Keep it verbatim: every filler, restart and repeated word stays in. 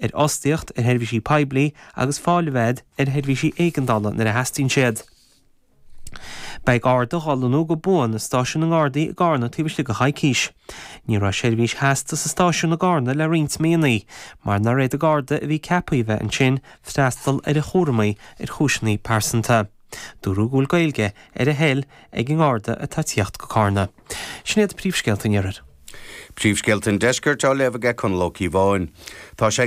ar fhostaíocht, ar sheirbhísí poiblí agus fáil a bheith ar sheirbhísí éigeandála nuair a theastaíonn siad. Beidh Garda á lonnú go buan i stáisiún na nGardaí i gCarna taobh istigh de choicís. Ní raibh seirbhís sheasta sa stáisiún i gCarna le roinnt míonna, mar nár fhéad an Garda a bhí ceaptha a bheith ansin freastal ar a chúraimí ar chúiseanna pearsanta. Dúradh go bhfuil Gaeilge ar a thoil ag an nGarda atá ag tíocht go Carna. Sin iad príomhscéalta an iarthair. Príomhscéalta an deiscirt á léamh aige Conall Ó Cíobháin. Tá sé